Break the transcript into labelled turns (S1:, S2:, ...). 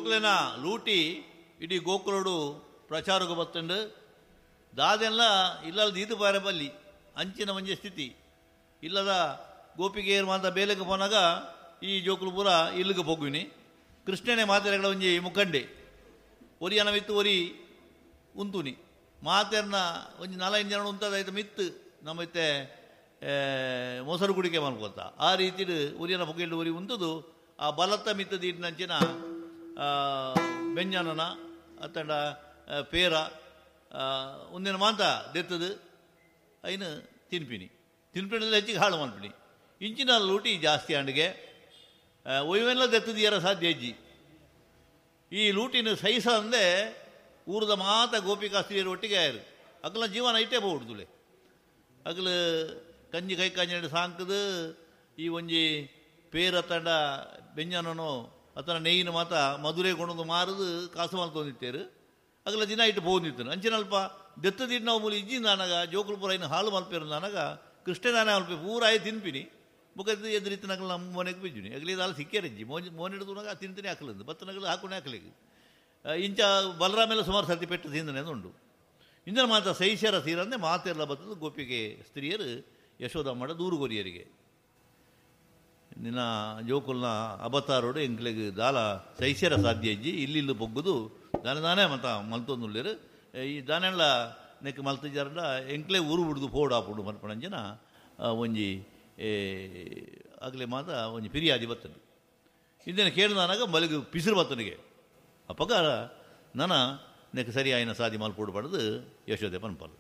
S1: ಜೋಕ್ಲೆನ ಲೂಟಿ ಇಡೀ ಗೋಕುಲೋಡು ಪ್ರಚಾರಕ್ಕೆ ಬತ್ತುಂಡು. ದಾದೆಲ್ಲ ಇಲ್ಲಲ್ಲಿ ದೀದು ಪಾರೆ ಬಲ್ಲಿ ಅಂಚಿನ ಒಂಜಿ ಸ್ಥಿತಿ ಇಲ್ಲದ ಗೋಪಿಗೆಯರು ಮಾತ ಬೇಲೆಗೆ ಪೋನಾಗ ಈ ಜೋಕುಲು ಪೂರ ಇಲ್ಲಿಗೆ ಪೋಗುವಿನಿ. ಕೃಷ್ಣನೇ ಮಾತೆರೆಗಳ ಒಂಜಿ ಮುಖಂಡೆ ಒರಿಯನ ಮಿತ್ತು ಒರಿ ಉಂತುನಿ ಮಾತೆರ್ನ ಒಂಜಿ ನಾಲೈದು ಜನ ಉಂತದಾಯ್ತು ಮಿತ್ತು ನಮ್ಮತ್ತೆ ಮೊಸರು ಕುಡಿಕೆ ಮಲ್ಕೊತ ಆ ರೀತಿಡು ಒರಿಯನ ಪೊಗೆಲ್ಡು ಒರಿ ಉಂತದು ಆ ಬಲತ್ತ ಮಿತ್ತು ದೀಟಿನಂಚಿನ ಬೆಂಜನನ ಅತ್ತಂಡ ಪೇರ ಒಂದಿನ ಮಾಂತ ದೆತ್ತದು ಐನು ತಿನ್ಪಿನಿ ತಿನ್ಪಿನಲ್ಲಿ ಹೆಚ್ಚಿಗೆ ಹಾಳು ಮಲ್ಪಿನಿ. ಇಂಚಿನ ಲೂಟಿ ಜಾಸ್ತಿ ಅಂಡಿಗೆ ಒಯ್ವೆಲ್ಲ ದೆತ್ತದಿಯರ ಸಾಧ್ಯ ಹೆಜ್ಜಿ. ಈ ಲೂಟಿನ ಸಹಿಸ ಅಂದೆ ಊರದ ಮಾತ ಗೋಪಿಕಾ ಸ್ತ್ರೀಯರು ಒಟ್ಟಿಗೆ ಆಯರು. ಅಗಲ ಜೀವನ ಇಟ್ಟೇ ಹೋಗ್ಬಿಡ್ದುಲೆ. ಅಗಲ ಕಂಜಿ ಕೈ ಕಂಜಿ ಸಾಂಕದು ಈ ಒಂಜಿ ಪೇರ ತಂಡ ಬೆಂಜನನೋ ಅತನ ನೆಯ್ಯಿನ ಮಾತ ಮಧುರೆ ಕೊಂಡೊಂದು ಮಾರದು ಕಾಸು ಮಲ್ತೊಂದಿತ್ತೇರು. ಅಗಲ ದಿನ ಇಟ್ಟು ಪೋಂದಿತ್ತನು ಅಂಚಿನಲ್ಪ ದೆತ್ತದಿಟ್ಟು ನಾವು ಮೂಲಿ ಇಜ್ಜಿಂದ ಅನಗ ಜೋಕುಲು ಪೂರ ಇನ್ನು ಹಾಲು ಮಲ್ಪೇರು ಅನಗ ಕೃಷ್ಣದಾನೆ ಮಲ್ಪೆ ಪೂರ ಆಯ್ ತಿನ್ಪಿನಿ. ಬೊಕ್ಕ ಎದುರಿತ್ತನಗಲು ನಮ್ಮ ಮನೆಗೆ ಬಿಜ್ಜುನಿ ಅಗಲಿ ದಾಲ ಸಿಕ್ಕೇರಿಜ್ಜಿ ಮೋಜ್ ಮೋನಿಡ್ದು ತಿಂತೀನಿ ಹಾಕಲಂದು ಬತ್ತನಗಲು ಹಾಕೊಂಡು ಹಾಕಲಿಕ್ಕೆ ಇಂಚ ಬಲರಾಮೆಲ್ಲ ಸುಮಾರು ಸರ್ತಿ ಪೆಟ್ಟು ತಿಂದನೆ ಉಂಡು. ಇಂದನ ಮಾತ ಸೈಶರ ಸೀರಂದೆ ಮಾತೆಲ್ಲ ಬತ್ತದು ಗೋಪಿಗೆ ಸ್ತ್ರೀಯರು ಯಶೋಧಮ್ಮಡ ದೂರುಗೊರಿಯರಿಗೆ ನಿನ್ನ ಜೋಕುಲ್ನ ಅಬತಾರೋಡು ಎಂಕ್ಲೆಗ್ ದಾಲ ಸೈಶರ ಸಾಧ್ಯ ಇಜ್ಜಿ ಇಲ್ಲಿ ಇಲ್ಲಿ ಬೊಗ್ಗುದು ದಾನೆ ದಾನೆ ಮತ ಮಲ್ತೊಂದುಳ್ಳೇರು ಈ ದಾನೆಲ್ಲ ನೆಕ್ ಮಲ್ತಜಾರಂಡ ಎಂಕ್ಲೆ ಊರು ಬಿಡ್ದು ಪೋಡಾಪುಡು ಮಲ್ಪಣಂಜಿನ ಒಂಜಿ ಆಗಲೇ ಮಾತ ಒಂಜಿ ಪಿರಿಯಾದಿ ಬರ್ತದೆ. ಇಂದೇನು ಕೇಳಿದಾನಾಗ ಮಲಗು ಪಿಸಿರು ಬತ್ತನಿಗೆ ಅಪ್ಪಗ ನನ ನೆಕ್ ಸರಿ ಆಯ್ನ ಸಾದಿ ಮಲ್ಪೋಡು ಪಡೆದು ಯಶೋದೆ ಪನ್ಪಲು.